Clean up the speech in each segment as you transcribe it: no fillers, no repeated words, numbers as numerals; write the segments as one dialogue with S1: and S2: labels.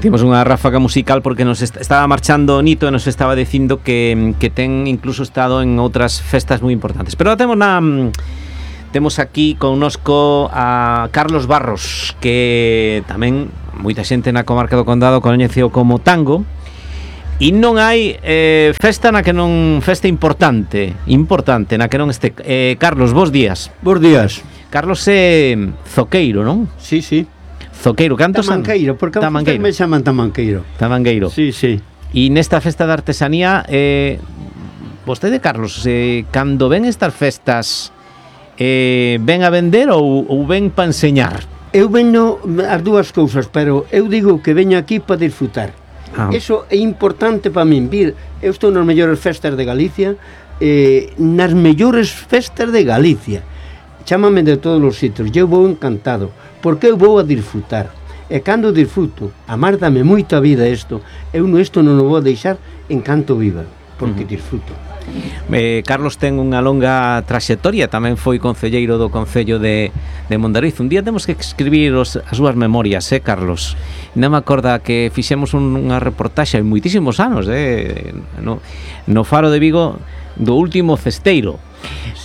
S1: metimos unha ráfaga musical porque nos estaba marchando Nito e nos estaba dicindo que ten incluso estado en outras festas moi importantes. Pero temos aquí connosco a Carlos Barros, que tamén moita xente na comarca do Condado coñeceu como Tango. E non hai festa importante na que non este. Carlos, bos días.
S2: Bos días.
S1: Carlos é zoqueiro, non?
S2: Sí, sí.
S1: Zoqueiro, cantos anos?
S2: Tamanqueiro, porque me chaman Tamanqueiro.
S1: Tamanqueiro.
S2: Sí, sí.
S1: E nesta festa de artesanía, vostede, Carlos, cando ven estas festas, ven a vender ou ven para enseñar?
S2: Eu venho as dúas cousas, pero eu digo que veño aquí para disfrutar. Eso é importante para min, vir. Eu estou nas mellores festas de Galicia, nas mellores festas de Galicia. Chámame de todos os sitios, eu vou encantado, porque eu vou a disfrutar. E cando disfruto, amárdame moito a vida isto, eu isto non o vou deixar en canto viva, porque disfruto.
S1: Carlos ten unha longa traxectoria, tamén foi concelleiro do Concello de Mondariz. Un día temos que escribir as súas memorias, Carlos? Non me acorda que fixemos unha reportaxe hai moitísimos anos, no Faro de Vigo, do último cesteiro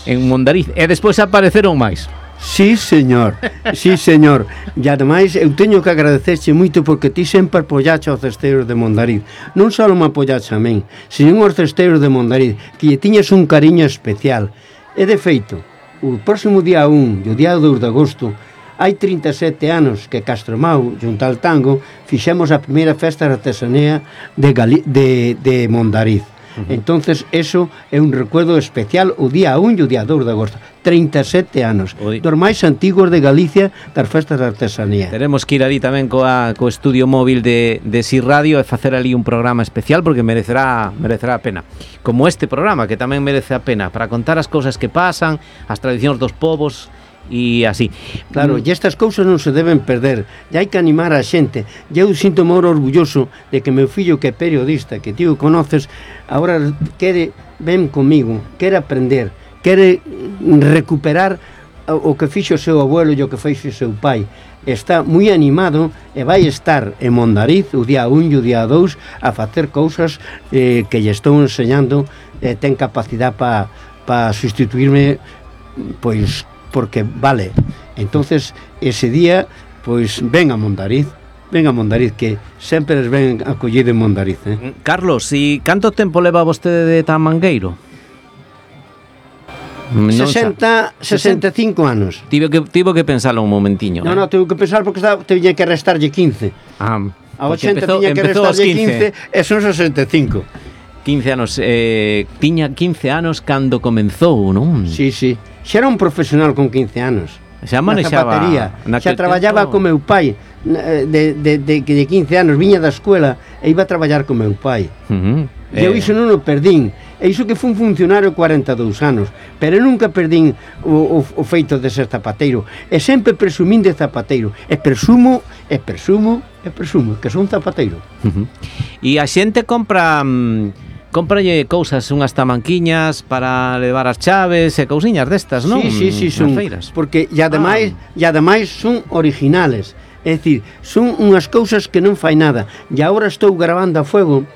S1: en Mondariz, e despois apareceron máis.
S2: Sí, señor, sí, señor. E ademais eu teño que agradecerche moito porque ti sempre apoyache aos cesteiros de Mondariz. Non só me apoyache a min, sino aos cesteiros de Mondariz, que lle tiñes un cariño especial. E de feito, o próximo día 1 e o día 2 de agosto, hai 37 anos que Castromau, junto ao Tango, fixemos a primeira festa de artesanía de Mondariz. Entonces, eso é un recuerdo especial o día 1 e o día 2 de agosto. 37 anos. Dos máis antigos de Galicia das festas de artesanía.
S1: Teremos que ir ali tamén co estudio móvil de Si Radio e facer ali un programa especial porque merecerá a pena. Como este programa, que tamén merece a pena, para contar as cousas que pasan, as tradicións dos povos e así.
S2: Claro, e estas cousas non se deben perder, e hai que animar a xente. E eu sinto moi orgulloso de que meu fillo, que é periodista, que ti o conoces, agora ven comigo, quere aprender, quere recuperar o que fixo o seu abuelo e o que fixo o seu pai. Está moi animado e vai estar en Mondariz o día 1 e o día 2 a facer cousas que lle estou enseñando, ten capacidade para sustituirme, pois porque vale. Entonces ese día pois ven a Mondariz, que sempre les ven acollido en Mondariz.
S1: Carlos, e canto tempo leva vostede de Tamanqueiro?
S2: 65 anos.
S1: Tivo que pensarlo un momentiño.
S2: Non, tivo que pensar porque tiña que restarlle 15. A 80 tiña que restarlle 15 e son 65.
S1: 15 anos, tiña 15 anos cando comenzou, non?
S2: Sí, sí. Xa era un profesional con 15 anos.
S1: Xa manexaba
S2: xa traballaba con meu pai de 15 anos, viña da escuela e iba a traballar con meu pai. E eu iso non o perdín. E iso que fui un funcionario 42 anos, pero nunca perdín o feito de ser zapateiro. E sempre presumín de zapateiro. E presumo que son zapateiro.
S1: E a xente cómpralle cousas, unhas tamanquiñas para levar as chaves e cousiñas destas, non?
S2: Sí, son feiras. Porque e ademais son originales. É dicir, son unhas cousas que non fai nada. E agora estou gravando a fuego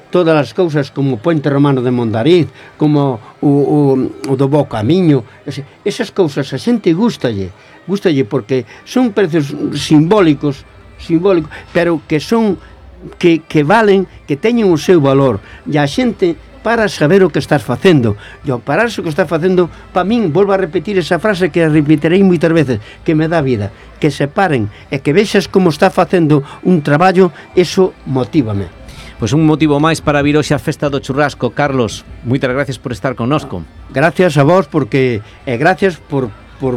S2: todas as cousas como o Puente Romano de Mondariz, como o do Bo Camiño. Esas cousas a xente gustalle porque son precios simbólicos, pero que son que valen, que teñen o seu valor, e a xente para saber o que estás facendo. E ao pararse o que estás facendo, para min, volvo a repetir esa frase que a repetirei moitas veces, que me dá vida, que se paren e que vexas como está facendo un traballo, eso motívame.
S1: Pois un motivo máis para vir hoxe a festa do churrasco. Carlos, moitas gracias por estar connosco.
S2: Gracias a vos, porque gracias por